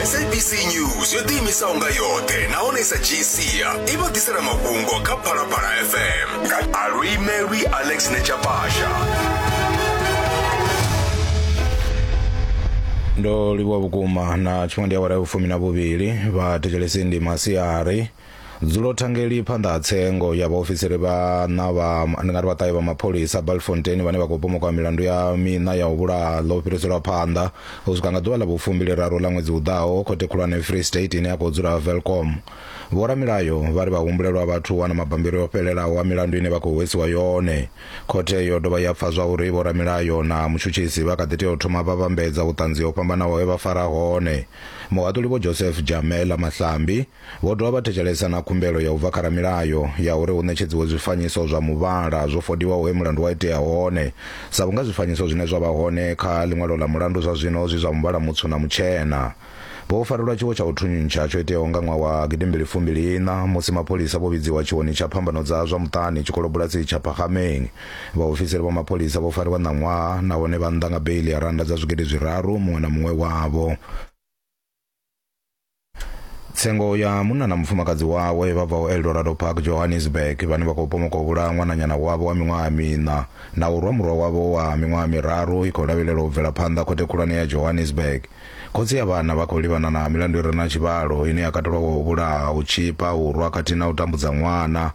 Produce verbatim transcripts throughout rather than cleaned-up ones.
S A B C News yo ḓiimisaho nga yoṱhe nahone sa dzhii sia i vha ḓisela mafhungo kha Phalaphala F M nga Aluimelwi Alex Nechapasha. Ndo livhuwa vhukuma na tshifhinga ndi awara ya vhufumi na vhuvhili vha thetshelesi ndi masiari. Dzulo thangeli phanḓa ha tsengo ya vhaofisiri vhaṋa vha ndi nga ri vhaṱahe vha mapholisa Bultfontein vhane vha khou pomoka milandu ya miṋa ya u vhulaha ḽo fhiriselwa phanḓa u swika nga ḓuvha ḽa vhufumbili raru ḽa ṅwedzi u ḓaho khothe khulwane Free State ine ya khou dzula Welkom. Vhoramilayo vha ri vhahumbulelwa vhathu wana mabambiri o fhelelaho a milandu ine vha khou hwesiwa yone. Khothe yo dovha ya pfa zwa uri vhoramilayo na mutshutshisi vha kha ḓi tea u thoma vha vhambedza vhuṱanzi ho fhambanaho he vha fara hone. Muhaṱuli Vho Joseph Jamela Mahlambi vho dovha vha thetshelesa na khumbelo ya u bva kha ramilayo ya uri hu ṋetshedziwe zwifanyiso zwa muvhala zwo fodiwaho he mulandu wa itea hone, sa vhunga zwifanyiso zwine zwa vha hone kha ḽiṅwalo ḽa mulandu zwa zwino zwi zwa muvhala mutswu na mutshena. Vho farelwa tshiwo tsha u thuntsha tsho iteaho nga ṅwaha wa gidimbili fumbili ina musi mapholisa vho vhidziwa tshiwoni tsha phambano dza zwa muṱani tshikolobulasi tsha Phagameng. Vhaofisiri vha mapholisa vho fariwa ṋaṅwaha nahone vha nnḓa nga beili ya randa dza zwigidi zwiraru muṅwe na muṅwe wavho. Tsengo ya munna na mufumakadzi wawe vha bvaho Eldorado Park, Johannesburg, vhane vha khou pomoka u vhulaha ṅwananyana wavho wa miṅwaha miṋa na u rwa murwa wavho wa miṅwaha miraru i khou lavhelelwa u bvela phanḓa khothe khulwane ya Johannesburg. Khotsi ya vhana vha khou livhana na milandu i re na tshivhalo ine ya katelwa u vhulaha, u tshipa, u rwa khathihi na u tambudza ṅwana.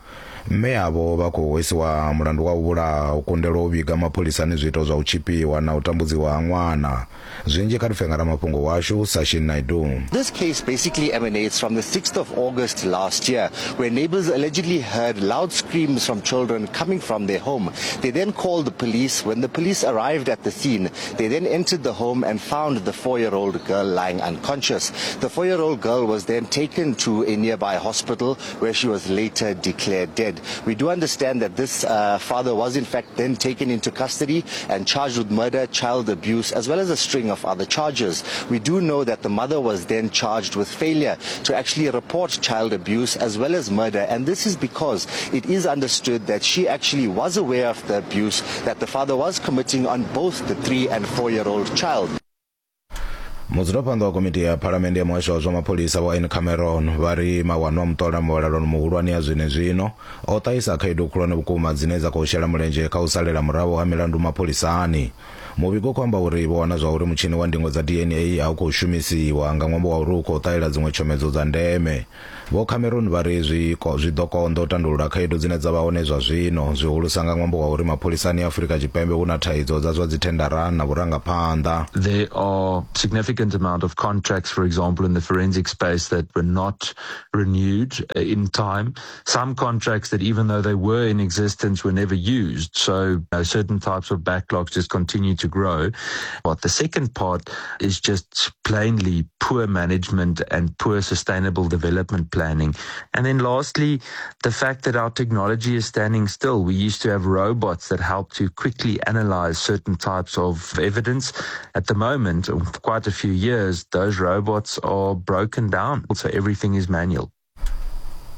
Mme avho vha khou hwesiwa mulandu wa u vhulaha, u kundelwa u vhiga mapholisani zwiito zwa u tshipiwa na u tambudziwa ha ṅwana. Zwinzhi kha ri pfe nga ramafhungo washu Sashin Naidu. This case basically emanates from the sixth of August last year, where neighbors allegedly heard loud screams from children coming from their home. They then called the police. When the police arrived at the scene, they then entered the home and found the four-year-old girl lying unconscious. The four-year-old girl was then taken to a nearby hospital, where she was later declared dead. We do understand that this uh, father was in fact then taken into custody and charged with murder, child abuse, as well as a string of other charges. We do know that the mother was then charged with failure to actually report child abuse as well as murder, and this is because it is understood that she actually was aware of the abuse that the father was committing on both the three and four year old child. Mudzulaphanḓa wa komiti ya phalamennde ya muhasho wa zwa mapholisa Vho Ian Cameron vha ri mawanwa a muṱola muvhalelano muhulwane ya zwenezwino o ṱahisa khaedu khulwane vhukuma dzine dza khou shela mulenzhe kha u salela murahu ha milandu mapholisani. Muvhigo u khou amba uri vho wana zwa uri mutshini wa ndingo dza D N A a u khou shumisiwa nga ṅwambo wa uri u khou ṱahela dziṅwe tshomedzo dza ndeme. Vho Cameron vha ri zwi zwi ḓo konḓa u tandulula khaedu dzine dza vha hone zwa zwino, zwihulusa nga ṅwambo wa uri mapholisani a Afurika Tshipembe hu na thaidzo dza zwa dzithendara na vhurangaphanḓa. There are significant amount of contracts, for example, in the forensic space that were not renewed in time. Some contracts that, even though they were in existence, were never used. So you know, certain types of backlogs just continue to grow. But the second part is just plainly poor management and poor sustainable development planning. And then lastly, the fact that our technology is standing still. We used to have robots that help to quickly analyze certain types of evidence. At the moment, for quite a few years, those robots are broken down. So everything is manual.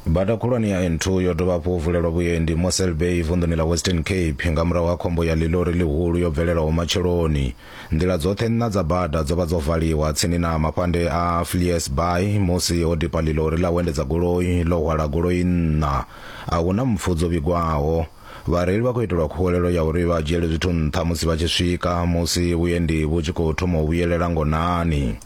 Bada khulwane ya N two yo dovha hafhu vulelwa vhuendi Mossel Bay vunḓuni ḽa Western Cape nga murahu ha khombo ya ḽilori ḽihulu yo bvelelaho matsheloni. Nḓila dzoṱhe nṋa dza bada dzo vha dzo valiwa tsini na mafhande a Vleis Baai musi ho dipa ḽilori ḽa u endedza goloi ḽo hwala goloi nṋa. A hu na mpfu dzo vhigwaho. Vhareili vha khou itelwa khuwelelo ya uri vha dzhiele zwithu nṱha musi vha tshi swika musi vhuendi vhu tshi khou thoma u vhuyelela ngonani.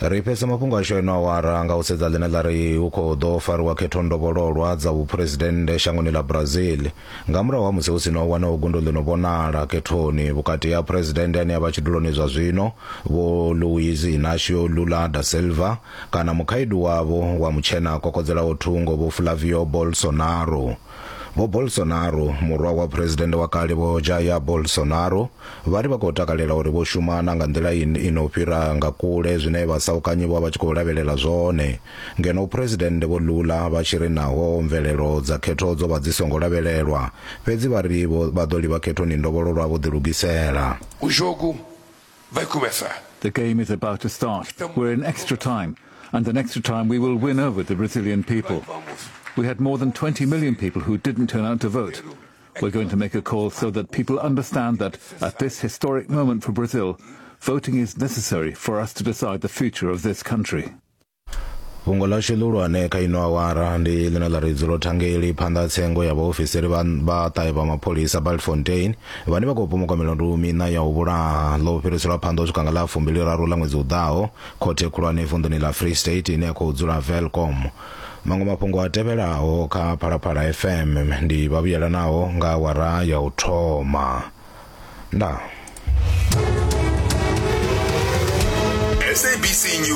Ri fhedza mafhungo ashu eno awara nga u sedza ḽine ḽa ri hu khou ḓo fariwa khetho ndovhololwa dza vhuphuresidennde shangoni ḽa Brazil nga murahu ha musi hu si no wanaho gundo ḽi no vhonala khethoni vhukati ha phuresidennde ane a vha tshiduloni zwa zwino Vho Luiz Inacio Lula da Silva kana mukhaidu wavho wa mutshena kokodzelaho thungo Vho Flavio Bolsonaro. Vho Bolsonaro, murwa wa phuresidennde wa kale Vho Jair Bolsonaro, vha ri vha khou takalela uri vho shumana nga nḓila ino fhira nga kule zwine vhasaukanyi vho vha tshi khou lavhelela zwone, ngeno phuresidennde Vho Lula vha tshi ri naho mvelelo dza khetho dzo vha dzi songo lavhelelwa, fhedzi vha ri vha ḓo livha khethoni ndovhololwa vho ḓilugisela. O jogo vai começar. The game is about to start. We're in extra time, and in extra time we will win over the Brazilian people. We had more than twenty million people who didn't turn out to vote. We're going to make a call so that people understand that at this historic moment for Brazil, Voting is necessary for us to decide the future of this country. Fhungo ḽashu ḽihulwane kha ino awara ndi ḽine ḽa ri dzulo thangeli phanḓa tsengo ya vhaofisiri vha vha ṱahe vha mapholisa Bultfontein vhane vha khou pomoka milandu miṋa ya u vhulaha ḽo fhiriselwa phanḓa u swika nga ḽa fumbili raru ḽa ṅwedzi u ḓaho khothe khulwane vunḓuni ḽa Free State ine ya khou dzula Welkom. Maṅwe mafhungo a tevhelaho kha Phalaphala F M ndi vha vhuyelanaho nga awara ya u thoma. Ndaa. S A B C News.